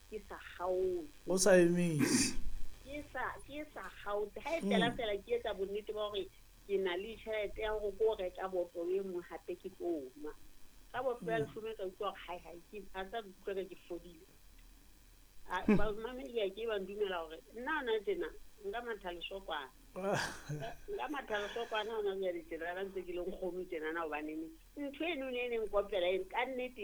ke sa kgaotse. O sa emise. Ke sa kgaotse. Ha e fela fela ke etsa bonnete ba hore ke na le tjhelete ya hore ko reka botlolo e nngwe hape ke tlo nwa. Ka botlolo ya leshome ka utlwa hore hai hai ke a tsa utlwa ka ke fodile. A ba mamedi a ke ba ndumela hore nna hona tjena nka matha lesokwana. Nka matha lesokwana hona jwale tjena ba ntse ke le nkgono tjenana hobaneng ntho eno ne e neng kopela e ka nnete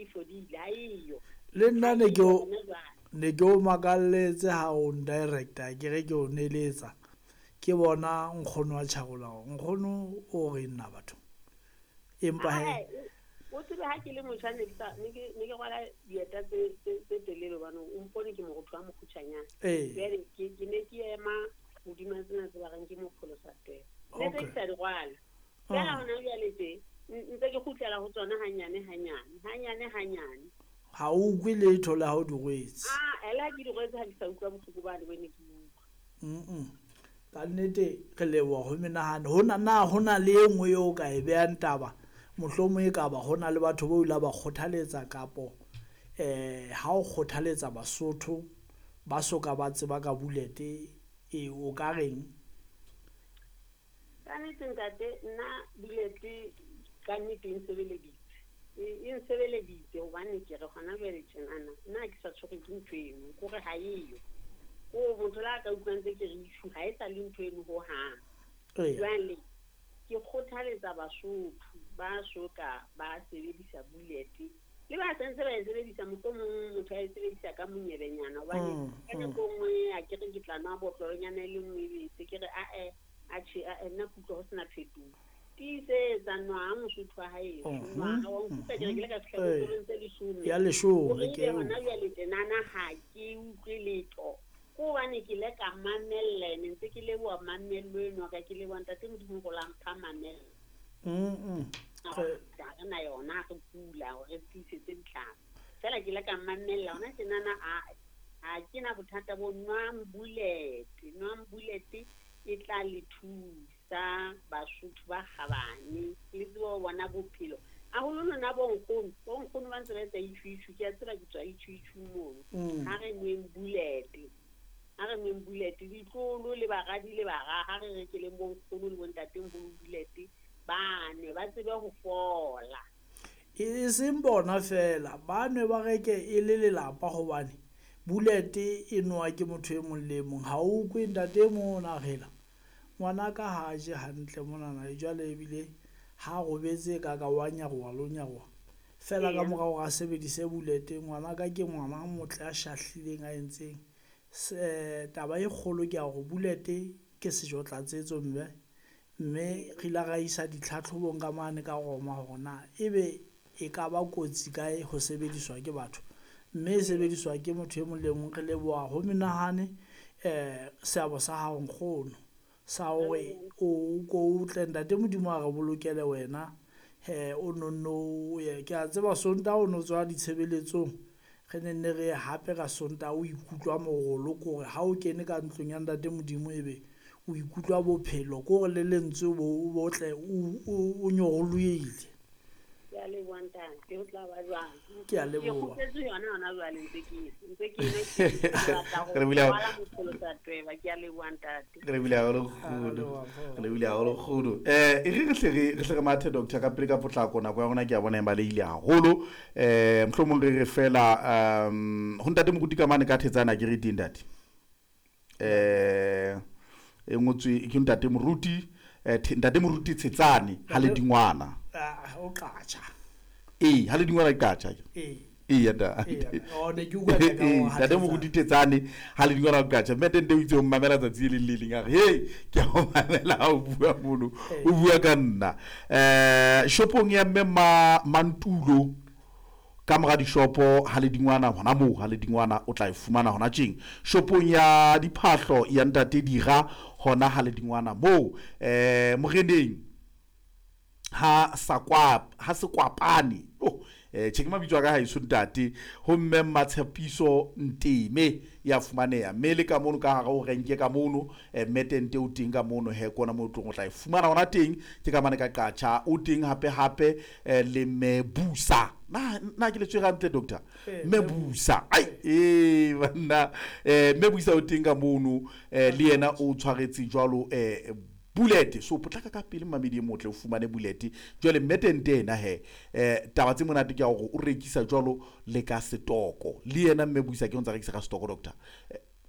e fodile ha eyo. Le nna ne ke o makalletse ha o ndirector ke re ke o neletsa. Ke bona nkgono wa Tjharola, nkgono o re nna batho. Empa he o tsebe ha ke le motjha ne ke rwala dieta tse telele hobane o mpone ke morotho wa mokgutshwanyane. Jwale ke ne ke ema hodima tsena tse ba reng ke mopholosa tweba. Ne ke sa di rwala. Fela hona jwale tje ntse ke kgutlela ho tsona hanyane hanyane, hanyane hanyane. Ha o utlwe letho le ha o di rwetse. Ah, ela ke di rwetse ha ke sa utlwa bohloko bane bo ne ke utlwa. Ka nnete re leboha ho menahano. Hona na hona le e nngwe eo o ka e behang taba, mohlomong e ka ba hona le batho bo ile ba kgothaletsa kapo ha o kgothaletsa Basotho ba soka ba tseba ka bullet e o ka reng? Ka nnete ntate, nna bullet ka nnete e nsebeleditse. E nsebeleditse hobane ke re hona jwale tjenana nna ke sa tshwerwe ke ntho eno, ke hore ha eyo. Ko motho la ka utlwang tse ke re itjhu ha e sa le ntho eno hohang. Jwale ke kgothaletsa Basotho ba soka ba sebedisa bullet le ba sentse ba e sebedisa, mohlomong motho a e sebedisa ka monyebenyana hobane ka nako e nngwe a ke re ke tla nwa botlolonyana e le nngwe ebe se ke re ae a tjhe a nna kutlwa ho sena phetoho. Tiisetsa nwa Mosotho wa haeso, nwa wa nkutlwa ke re ke le ka fihla botlolong tse leshome. Ya leshome ke hona jwale tjenana ha ke utlwe letho. Ko hobane ke le ka mamella, ne ntse ke leboha mamello eno ka ke leboha ntate Modimo go la mpha mamello. Ga re na yona re kula hore re tiisetse ditlhare. Fela ke le ka mamella hona tjenana a ke na bothata bo nwang bullet, nwang bullet e tla le thusa Basotho ba kgabane le tsebe ho bona bophelo. Haholo lona bo nkgono, bo nkgono ba ntse ba etsa itjhu-itjhu, ke a tseba ke tswa itjhu-itjhu mono. Ha re nweng bullet, ha re nweng bullet, ditlolo le baradi le bara, ha re rekeleng bo nkgono le bo ntatemoholo bullet, ba nwe ba tsebe ho fola. E seng bona fela, ba nwe ba reke e le lelapa hobane bullet e nowa ke motho e mong le e mong. Ha o utlwe ntate e mong o na rela ngwanaka ha je hantle monana jwale ebile ha robetse ka ka wa nyaroha le ho nyaroha. Fela ka morao hore a sebedise bullet, ngwanaka ke ngwana a motle a shahlileng a entseng. Taba e kgolo ke ya hore bullet ke sejo tlatsetso mme mme re ile ra isa ditlhatlhobong ka mane ka Roma hore na ebe e ka ba kotsi kae ho sebediswa ke batho, mme e sebediswa ke motho e mong le mong. Re leboha ho menahane seabo sa hao nkgono sa hore o ko tle ntate Modimo a re bolokele wena. O nonno o ye ke a tseba Sontaha o no tswa ditshebeletsong, re ne nne re hape ka Sontaha o ikutlwa morolo ke hore ha o kene ka ntlong ya ntate Modimo ebe o ikutlwa bophelo ke hore le lentswe bo botle o nyolohile. Ke a leboha ntate, ho tla ba jwang? Ke a leboha. Ke kgutletse yona hona jwale ntse ke ke batla ho rwala mopholosa tweba. Ke a leboha ntate. Re bile haholo kgudu. Re bile haholo kgudu. E re hle re mathe doctor ka pele ka potlako, nako ya rona ke a bona e balehile haholo. Mohlomong re re fela ho ntate Moruti ka mane ka Thetsana ke re teng ntate. E ngotswe ke ntate Moruti, ntate Moruti Tshetsane ha le dingwana. O qatjha. Ee, ha le dingwana qatjha. Ee. Ee, ntate. O ne ke utlwa ka o ntate Moruti Tshetsane ha le dingwana qatjha. Mme tente o itse o mamela tsatsi le le leng a re, "Hey, ke a o mamela ha o bua mono." O bua ka nna. Shopong ya mme Mantulo ka mora dishopo ha le dingwana hona moo ha le dingwana o tla e fumana hona tjeng. Shopong ya diphahlo ya ntate Dira hona ha le dingwana moo. Moreneng ha ha sekwapane. Oh, tjhe ke mabitso a ka haeso ntate. Ho mme Matshepiso Nteme ya fumaneha. Mme le ka mono ka hare ho renke ka mono, mme tente o teng ka mono he kona moo o tla e fumana hona teng. Ke ka mane ka qatjha o teng hape hape le mme Busa. Na ke le tswe hantle doctor? Mme Busa. Ai banna mme Busa o teng ka mono le yena o tshwaretse jwalo bullet. So potlaka ka pele mamedi e motle o fumane bullet. Jwale mme Tente ena he taba tse monate ke ya hore o rekisa jwalo le ka setoko. Le yena mme Busa ke o ntsa rekisa ka setoko doctor.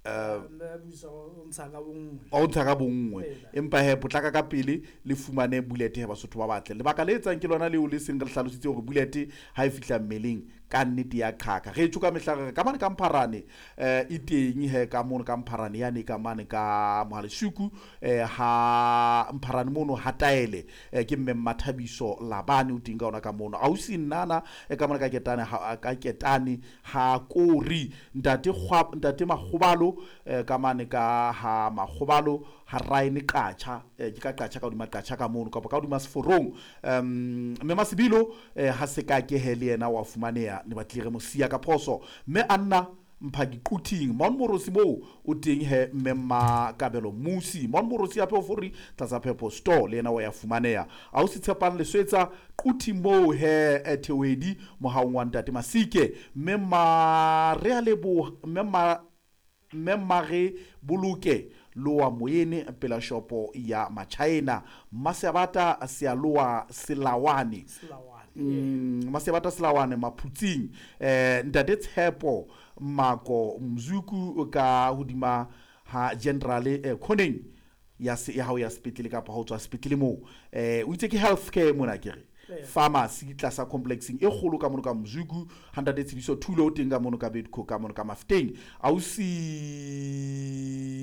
Mme Busa o ntsha ka bonngwe. O ntsha ka bonngwe. Empa he potlaka ka pele le fumane bullet he Basotho ba batle. Lebaka le etsang ke lona leo le seng re hlalositse hore bullet ha e fihla mmeleng ka nnete ya qhaka. Re tjho ka mehla re ka mane ka Mpharane e teng he ka mono ka Mpharane yane ka mane ka Mohaleshuku ha Mpharane mono ha Taele ke mme Mathabiso Labane o teng ka ona ka mono. Ausi Nnana ka mane ka Ketane ha ka Ketane ha Kori ntate ntate Makgobalo ka mane ka ha Makgobalo ha Raene Qacha ke ka Qacha ka hodima Qacha ka mono kapa ka hodima Seforong mme Masibilo ha se ka ke he le yena wa fumaneha ne batlile re mo siya ka phoso mme Anna Mphaki Quthing Mount Morosi moo o teng he mme Makabelo Musi Mount Morosi hape o fori tlasa Phepo Store le yena wa ya fumaneha a o se tshepang leswetsa Quthing moo he Thewedi mohaong wa ntate Masike mme ma re a leboha mme Mare Boloke loa moyene pela shopo ya Machina Masebata Sealoa Selawane Masebata Selawane Maphutsing ntate Tshepo Mako Mzuku ka hodima ha General Khoneng ya ya hao ya sepetlele kapa ho tswa sepetlele moo o itse ke healthcare mona ke re pharmacy tlasa complexing e kgolo ka mono ka Mzuku ha ntate Tshidiso Thulo o teng ka mono ka Bedco ka mono ka Mafteng ausi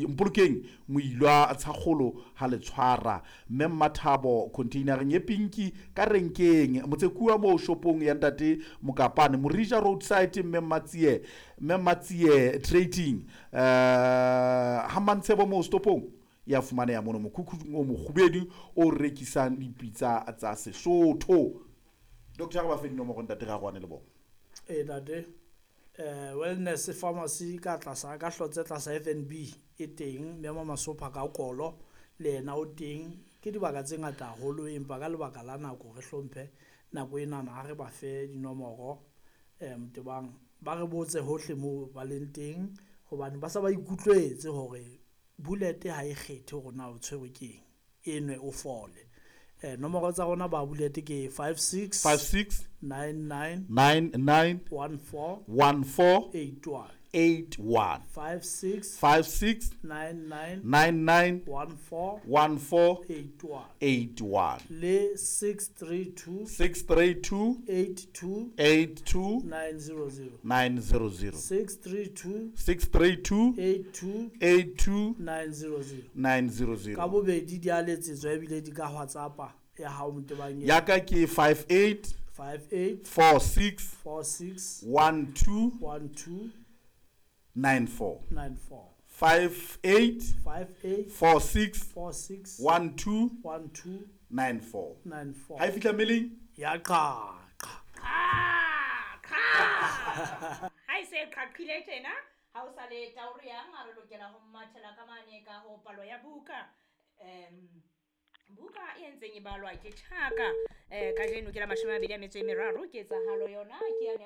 Mpolokeng moilwa tshakgolo ha le tshwara mme Mmathabo containereng e pinki ka renkeng Motsekua moo shopong ya ntate Mokapane Morija roadside mme Mmatsie trading ha Mantshebo moo stopong ya fumaneha mono mokhukhung o mokgubedu o rekisang dipitsa tsa Sesotho. Doctor ba fe dinomoro ntate Ragwane le bona. Ntate Wellness Pharmacy ka tlasa ka hlotse tlasa FNB e teng mme Masopha ka kolo le yena o teng ke dibaka tse ngata haholo empa ka lebaka la nako re hlomphe nako enana ha re ba fe dinomoro Motebang ba re botse hohle moo ba leng teng hobane ba sa ba ikutlwetse hore bullet ha e kgethe hore na o tshwerwe ke eng e nwe o fole. Nomoro tsa rona ba bullet ke 56 56 99 99 14 14 81 81 56 56 99 99 14 14 81 81 le 632 632 82 82 900 900 632 632 82 82 900 900. Ka bobedi di a letsetswa ebile di ka WhatsApp ya hao Motebang Ya ka ke 58 58 46 46 12 12 94 94 58 58 46 46 12 12 94. 94. Ha e fihla mmeleng ya qaqa. Ha e se qhaqhile tjena ha o sa le tauro yang a re lokela ho mathela ka mane ka ho palo ya buka. Buka e entseng e balwa ke Tjhaka kajeno ke la 23 ketsahalo yona ke ya 24.